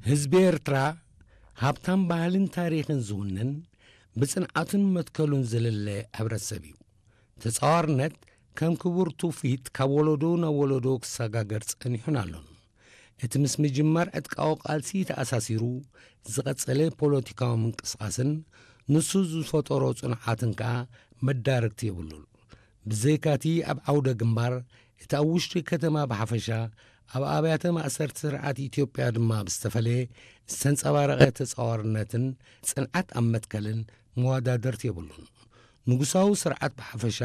ህዝቢ ኤርትራ ሃብታም ባህልን ታሪኽን ዝውንን፣ ብጽንዓቱን መትከሉን ዝልለ ሕብረተሰብ እዩ። ተጻዋርነት ከም ክቡር ትውፊት ካብ ወለዶ ናብ ወለዶ ክሰጋገር ጸኒሑን ኣሎን። እቲ ምስ ምጅማር ዕጥቃዊ ቃልሲ ተኣሳሲሩ ዝቐጸለ ፖለቲካዊ ምንቅስቓስን ንሱ ዝፈጠሮ ጽንዓትን ከኣ መዳርግቲ የብሉን። ብዘይካቲ ኣብ ዓውደ ግንባር፣ እቲ ኣብ ውሽጢ ከተማ ብሓፈሻ፣ ኣብ ኣብያተ ማእሰርቲ ስርዓት ኢትዮጵያ ድማ ብዝተፈለየ ዝተንጸባረቐ ተጻዋርነትን ጽንዓት ኣብ መትከልን መወዳደርቲ የብሉን። ንጉሳዊ ስርዓት ብሓፈሻ፣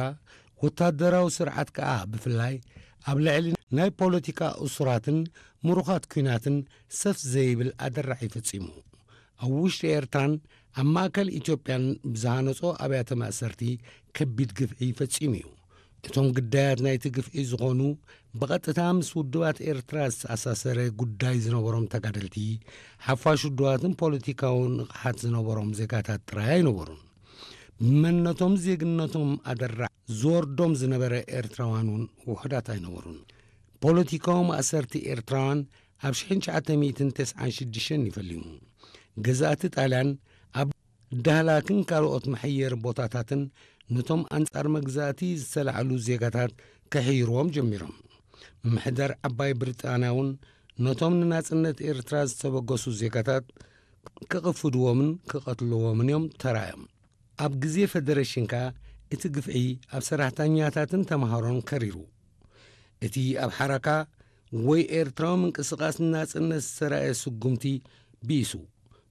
ወታደራዊ ስርዓት ከኣ ብፍላይ፣ ኣብ ልዕሊ ናይ ፖለቲካ እሱራትን ምሩኻት ኲናትን ሰፍ ዘይብል ኣደራዒ ፈጺሙ። ኣብ ውሽጢ ኤርትራን ኣብ ማእከል ኢትዮጵያን ብዝሃነጾ ኣብያተ ማእሰርቲ ከቢድ ግፍዒ ፈጺሙ እዩ። እቶም ግዳያት ናይቲ ግፍዒ ዝኾኑ፣ ብቐጥታ ምስ ውድባት ኤርትራ ዝተኣሳሰረ ጉዳይ ዝነበሮም ተጋደልቲ፣ ሓፋሽ ውድባትን ፖለቲካዊ ንቕሓት ዝነበሮም ዜጋታት ጥራይ ኣይነበሩን። ብመንነቶም ዜግነቶም ኣደራዕ ዝወርዶም ዝነበረ ኤርትራውያን እውን ውሑዳት ኣይነበሩን። ፖለቲካዊ ማእሰርቲ ኤርትራውያን ኣብ ሽሕን ትሽዓተ ሚእትን ተስዓን ሽዱሽተን እዩ ፈሊሙ። ገዛእቲ ጣልያን ኣብ ዳህላክን ካልኦት መሐየሪ ቦታታትን ነቶም ኣንጻር መግዛእቲ ዝተላዕሉ ዜጋታት ከሕይርዎም ጀሚሮም። ምምሕዳር ዓባይ ብሪጣንያ እውን ነቶም ንናጽነት ኤርትራ ዝተበገሱ ዜጋታት ክቕፍድዎምን ክቐትልዎምን እዮም ተራእዮም። ኣብ ግዜ ፈደረሽን ከኣ እቲ ግፍዒ ኣብ ሰራሕተኛታትን ተምሃሮን ከሪሩ። እቲ ኣብ ሓራካ ወይ ኤርትራዊ ምንቅስቓስ ናጽነት ዝተራእየ ስጉምቲ ብኢሱ፣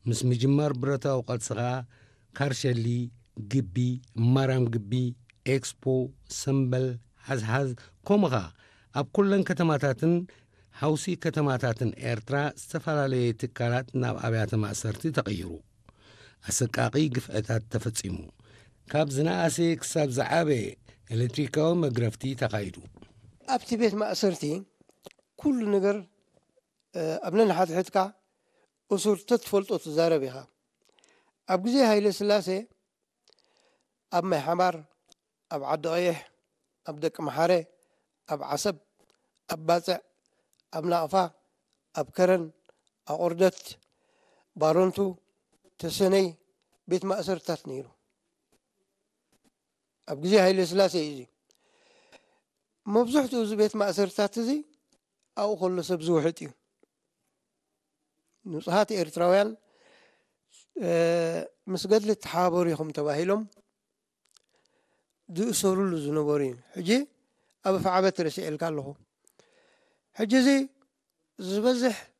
ምስ ምጅማር ብረታዊ ቃልሲ ከኣ ካርሸሊ፣ ግቢ፣ ማርያም ግቢ፣ ኤክስፖ፣ ሰምበል፣ ሓዝሓዝ፣ ከምኡ ኸኣ ኣብ ኩለን ከተማታትን ሓውሲ ከተማታትን ኤርትራ ዝተፈላለየ ትካላት ናብ ኣብያተ ማእሰርቲ ተቐይሩ። ኣሰቃቒ ግፍዕታት ተፈጺሙ። ካብ ዝነኣሰ ክሳብ ዝዓበየ ኤሌክትሪካዊ መግረፍቲ ተኻይዱ። ኣብቲ ቤት ማእሰርቲ ኩሉ ነገር፣ እ፣ ኣብ ነንሓድሕድካ እሱር ተትፈልጦ ትዛረብ ኢኻ። ኣብ ግዜ ሃይለ ስላሴ ኣብ ማይ ሓማር፣ ኣብ ዓዲ ቀይሕ፣ ኣብ ደቂ መሓረ፣ ኣብ ዓሰብ፣ ኣብ ባጽዕ፣ ኣብ ናቕፋ፣ ኣብ ከረን፣ ኣቑርደት፣ ባረንቱ፣ ተሰነይ ቤት ማእሰርታት ነይሩ። ኣብ ግዜ ሃይለ ስላሴ እዩ እዚ። መብዝሕትኡ እዚ ቤት ማእሰርታት እዚ ኣብኡ ከሎ ሰብ ዝውሕጥ እዩ። ንጹሃት ኤርትራውያን፣ እ፣ ምስ ገድሊ ተሓባበሩ ኢኹም ተባሂሎም ዝእሰሩሉ ዝነበሩ እዩ። ሕጂ ኣብ ኣፍዓበት ረሲዐልካ ኣለኹ። ሕጂ እዚ ዝበዝሕ